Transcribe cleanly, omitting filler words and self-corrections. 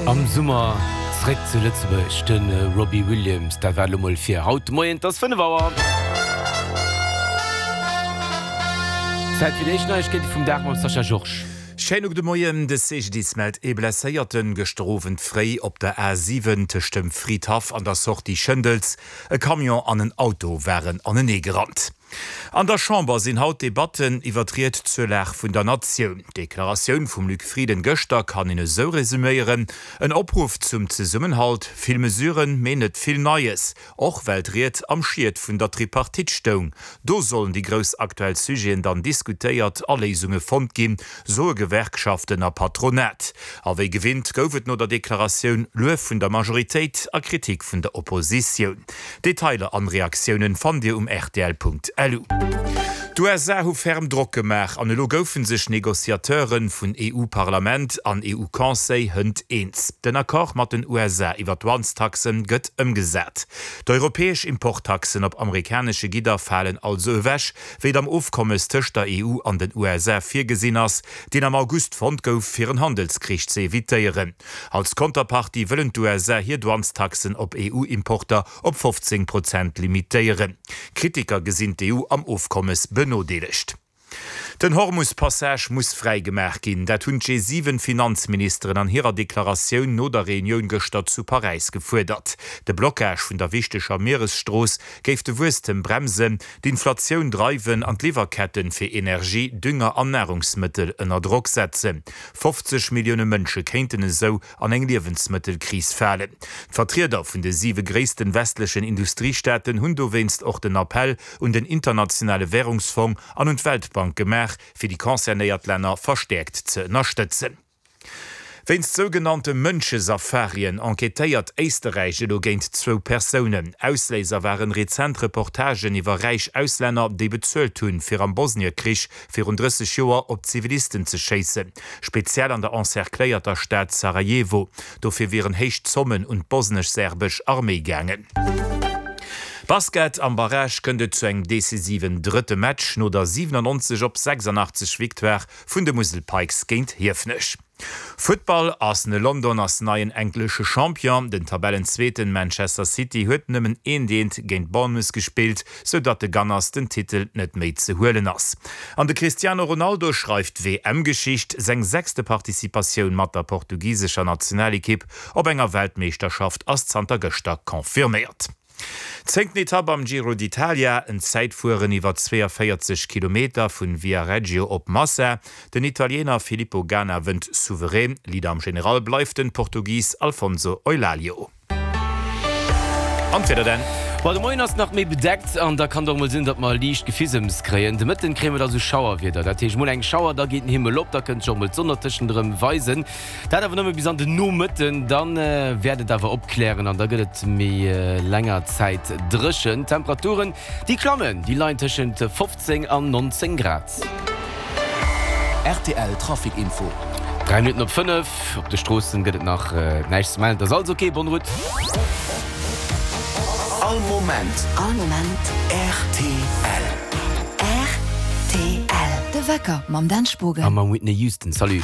Am Summer zréck zu Lëtzebuerg, de Robbie Williams. Dat war et elo mol fir haut de Moien. Et ass 5 Auer. Zäit fir déi éischt Neiegkeete vum Dag mam Sascha Georges. Schéine gudde Moien. De CGDIS mellt ee Blesséierten gëschter Owend fréi op der A 7 tëscht dem Fridhaff an der Sortie Schëndels. E Camion an en Auto waren anenee gerannt. An der Chamber sinn haut Debatten iwwer d'Ried zur Lag vun der Natioun. D'Deklaratioun vum Luc Frieden gëschter kann een esou resuméieren, En Opruff zum Zesummenhalt, vill Mesuren, mee net vill Neies. Och well d'Ried am Schiet vun der Tripartite stoung. Do sollen déi grouss aktuell Sujeten dann diskutéiert a Léisunge fonnt ginn, soe Gewerkschaften a Patronat. A wéi gewinnt gouf et no der Deklaratioun Luef vun der Majoritéit a Kritik vun der Oppositioun. Detailer an Reaktiounen fannt dir um rtl.lu. D'USA hu ferm Drock gemaach an elo goufen sech Negociateuren vun EU-Parlament an EU-Conseil hënt eens. Den Accord mat den USA iwwer d'Douanestaxen gëtt ëmgesat. D'europäesch Importtaxen op amerikanesche Gidder falen also ewech, wéi et am Ofkommes tëscht der EU an den USA virgesinn ass, deen am August fonnt gouf, fir en Handelskrich ze evitéieren. Als Konterpartie wëllen d'USA hir Douanestaxen op EU-Importer op 15 Prozent limitéieren. Kritiker gesinn d'EU am Ofkommes benodeelegt. Den Hormus-Passage muss fräi gemaach ginn. Dat hunn d'G7-Finanzministeren an hirer Deklaratioun no der Reunioun gëschter zu Paräis gefuerdert. De Blockage vun der wichteger Mieresstrooss géif de Wuesstem bremsen, d'Inflatioun dreiwen an d'Liwwerketten fir Energie, Dünger an Narungsmëttel ënner Drock setzen. 50 Millioune Mënsche kéinten esou an eng Liewensmëttelkris falen. D'Vertrieder vun de siwe gréissten westlechen Industriestaaten hunn dowéinst och den Appell un den Internationale Wärungsfong an un d'Weltbank gemaach, fir déi concernéiert Länner verstäerkt ze ënnerstëtzen. Wéinst sougenannte Mënschesafarien enquêtéiert Éisterräich elo géint zwou Persounen. Ausléiser waren rezent Reportagen iwwer räich Auslänner, déi bezuelt hunn, fir am Bosniekrich virun 30 Joer op Zivilisten ze schéissen, speziell an der encercléierter Stad Sarajevo. Dofir wieren héich Zommen un d'bosnesch-serbesch Arméi gaangen. Basket, Am Barrage kënnt et zu engem decisiven drëtte Match no der 97 op 86 Victoire vun de Musel Pikes géint Hiefenech. Futtball, Arsenal London ass neien englesche Champion. Den Tabellenzweeten Manchester City huet nëmmen eent eent géint Bournemouth gespillt, sou datt de Gunners den Titel net méi ze huelen ass. An de Cristiano Ronaldo schreift WM-Geschicht, seng sechste Participatioun mat der portugisescher Nationalekipp op enger Weltmeeschterschaft ass zanter gëschter confirméiert. Zéngten Etapp am Giro d'Italia, en Zäitfueren iwwer 42 Kilometer vun Viareggio op Massa. Den Italiener Filippo Ganna wënnt souverän, Leader am General bleift den Portugis Alfonso Eulalio. An d'Wieder dann? Bon, de Moien ass nach méi bedeckt an da kann et och mol sinn, datt mer liicht Gefisems kréien. De Mëtten kréie mer da sou Schauerwieder, dat heescht mol eng Schauer, da geet den Himmel op, da kënnt sech och mol d'Sonn dertëschent erëm weisen. Dat awer nëmme bis an den Nomëtten, dann wäert et awer opklären an da gëtt et méi länger Zäit dréchen. D'Temperaturen, déi klammen, déi leien tëschent 15 an 19 Grad. Rtl Trafic Info. 3 Minutten op 5, op de Stroossen gëtt et nach näischt ze mellen, et ass alles ok. Bonne route. All Moment. All Moment. Rtl. Rtl. De Wecker mam Dan Spogen. A mam Whitney Houston. Salut.